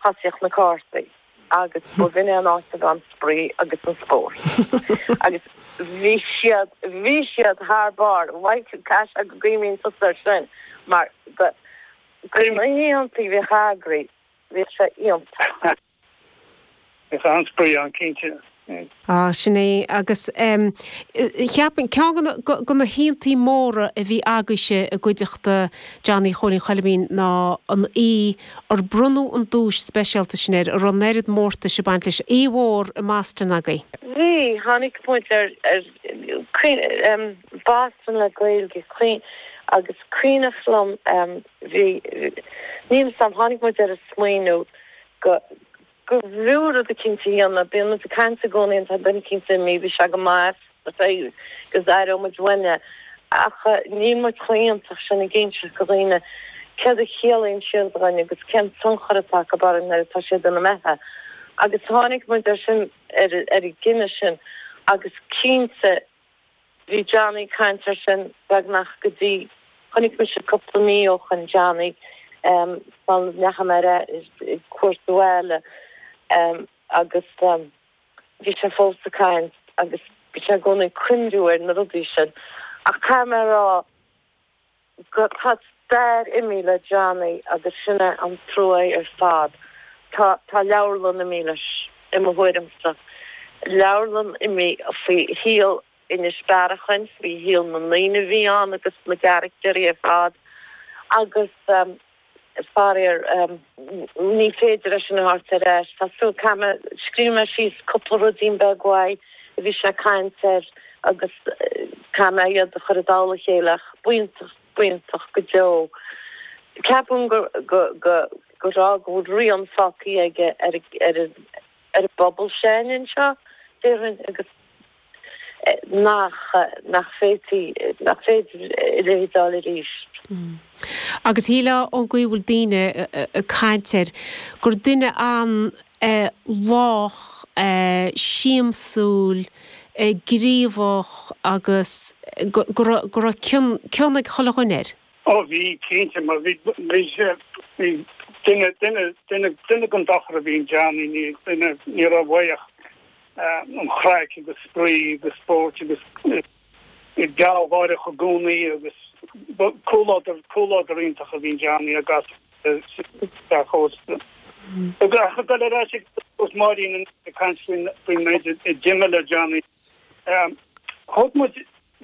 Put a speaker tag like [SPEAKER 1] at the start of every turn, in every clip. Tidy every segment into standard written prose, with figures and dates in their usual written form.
[SPEAKER 1] Thosaíodh na cártaí agus b'in é an áit a raibh an spraoi agus an spórt. Agus bhí siad, bhí siad thar barr. Mhaidhc, caithfidh sé go gcuimhníonn tusa air sin mar go, go na hoícheantaí a bhíodh eagraithe, bhíodh sé iontach.
[SPEAKER 2] Bhíodh an-spraoi ann, cinnte.
[SPEAKER 3] Á, sin é. Agus cheapfainn, ceann de na hoícheantaí móra a bhí agaibhse i gcuideachta Johnny Chóilín Choilimín ná an oíche ar bronnadh an duais speisialta sin air, a raibh an oiread mórtais ag baint leis. Oíche mhór i mBoston agaibh.
[SPEAKER 1] Bhí, tháinig muid ar, ar, Boston le Gaeilge, agus cuimhneach liom, bhí, níl 'fhios a'm, tháinig muid ar an smaoineamh go b'fhiú rud eicínt a dhéanamh. Bíonn muid ag caint i gcónaí an tá duine eicínt imithe, bhí sé go maith agus aireoidh muid uainn é. Ach níl muid chomh hiontach sin ag inseacht go dhaoine céard a chiallaíonn siad dhúinn agus cén tionchar atá acu orainn nuair atá siad imithe. Agus tháinig muid ar sin, ar an gcinneadh sin agus cinnte, Bhí Johnny ag caint air sin beagnach go dtí, chonaic mise cúpla mí ó shoin Johnny sula ndeachaigh mé ar cuairt abhaile agus bhí sé fós ag caint agus bhí sé i gcónaí ag cuimriú ar na rudaí sin. Ach caithfidh mé a rá go, tá stair imithe le Johnny agus sin é an trua ar fad. Tá, tá leabharlann imithe leis, i mo thuairimse. Leabharlann imithe faoi shaol Inis Bearachain, faoi shaol na ndaoine a bhí ann agus na gcaractéirí ar fad agus faraor ní féidir é sin a thabhairt ar ais. Tá súil, caithfidh mé, scríobh mé síos cúpla ruidín beag uaidh a bhí sé ag caint air agus caithfidh mé iad a chur i dtoll a chéile ach b'iontach, b'iontach go deo. Ceapaim go, go, go, go raibh, go bhfuil rian fágtha aige ar, ar, ar an bpobal s'againne anseo, déarfainn, agus nach, nach féadfaí, nach féidir a leithéid a fháil arís.
[SPEAKER 3] Agus shílfeá ón gcaoi a bhfuil daoine ag caint air, gur duine an-lách, siamsúil, gníomhach agus go raibh cion, cion ag chuile dhuine air.
[SPEAKER 2] Ó bhí, cinnte, mar bhí, bhí sé, bhí duine, duine, duine, duine den dochar a bhí in Johnny, ní, duine, ní raibh uaidh ach an chraic agus spraoi agus spóirt agus gealgháireach i gcónaí agus comhluadar, comhluadar iontach a bhí in Johnny agus sa chósta. Ach ag dul ar ais ag Máirín ag caint faoin méid a d'imigh le Johnny. Thóg muid,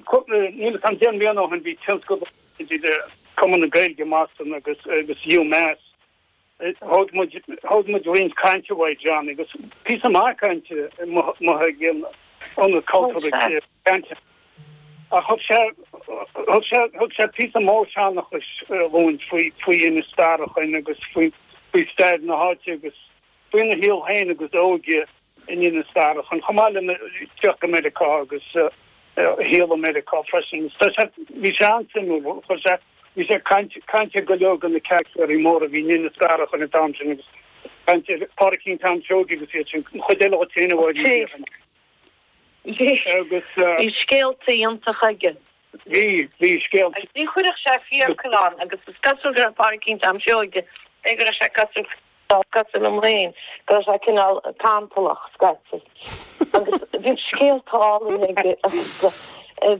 [SPEAKER 2] níl 'fhios a'm, 10 mbliana ó shin bhí tionscadal idir Cumann na Gaeilge i mBoston agus agus UMass. Thóg muid, thóg muid roinnt cainte uaidh Johnny agus píosa maith cainte amuigh ag an Ionad Cultúrtha cainte. Ach thug sé, thug sé, thug sé píosa mór seanchais dhúinn faoi, faoi Inis Bearachain agus faoi, faoi stair na háite agus faoina shaol féin agus a óige. in Inis Bearachain, chomh maith lena theacht go Meiriceá agus a shaol i Meiriceá freisin. Tá sé, bhí sé an-suimiúil, chuir sé, bhí sé ag caint, caint ar go leor de na caractéirí móra a bhí in Inis Bearachain an t-am sin agus caint ar Phádraicín Tom Seoige agus iad sin, an chuid eile dhuit féin a Mháirín déarfainn.
[SPEAKER 1] Bhí,
[SPEAKER 2] Agus.
[SPEAKER 1] bhí scéalta iontacha aige.
[SPEAKER 2] Bhí, bhí scéalta.
[SPEAKER 1] Agus ní chuirfeadh sé fiacail ann agus is cosúil go raibh Pádraicín Tom Seoige, cé go raibh sé cosúil Cosúil liom féin, go raibh sé cineál cantalach scaití. Agus bhíodh scéalta álainn aige agus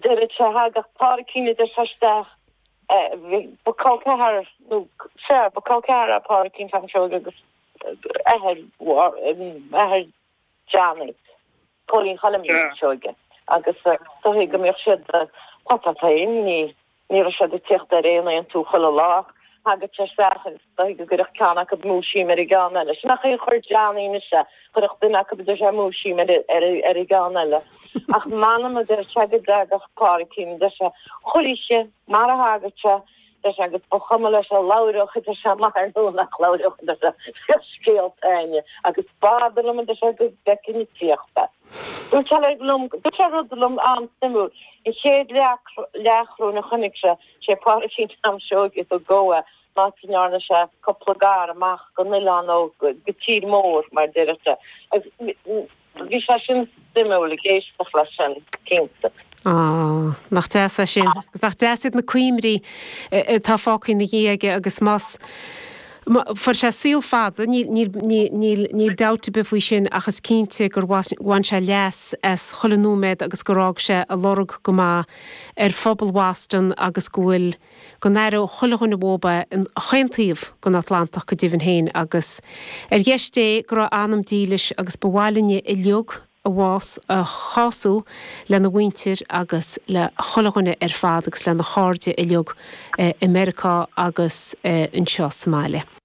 [SPEAKER 1] deireadh sé thagadh Pádraicín a deir sé isteach, ba col ceathar nó sea, ba col ceathar é Pádraicín Tom Seoige agus athair, athair Johnny, Cóilín Choilm Seoige agus dóigh go mbíodh siad, tá tá féin, ní Ní raibh siad ag tíocht ar aon aontú chuile lá ach thagadh sé isteach agus dóigh go gcuirfeadh ceann acu múisím ar an gceann eile. Sin an chaoi a chuir Johnny anois é, chuirfeadh duine acu a deir sé múisím ar ar an gceann eile. Ach m'anam a deir sé go dtagadh Pádraicín a deir sé chuile oíche mar a thagadh sé deir sé agus ba chuma leis an labhródh a deir sé maith ar nó nach labhródh a deir sé bhíodh scéalta againne agus b'fhada liom a deir sé go bhfeicfinn ag tíocht é. Dúirt sé liom, dúirt sé rud liom an-suimiúil, an chéad leathchróin a chonaic sé, sé Pádraicín Tom Seoige a thug dhó é, an áit a ndearna sé cúpla gar amach gon oileán ó go tír mór, mar a deireadh sé. Agus bhí sé sin suimiúil ag éisteacht leis sin, cinnte.
[SPEAKER 3] Á, nach deas é sin. Agus nach deas iad na cuimhní atá fágtha ina dhiaidh aige agus más. Fuair sé saol fada, níl dabht ar bith faoi sin ach is cinnte gur bhain sé leas as chuile nóiméad agus gur fhág sé a lorg go maith ar phobal Bhoston agus go bhfuil, go n-aireoidh chuile dhuine uathub é in chaon taobh den Atlantach go deimhin féin agus ar dheis Dé go raibh a anam dílis agus ba mhaith linne uilig a bhás a chású lena mhuintir agus le chuile dhuine ar fad agus lena chairde uilig i Meiriceá agus anseo sa mbaile.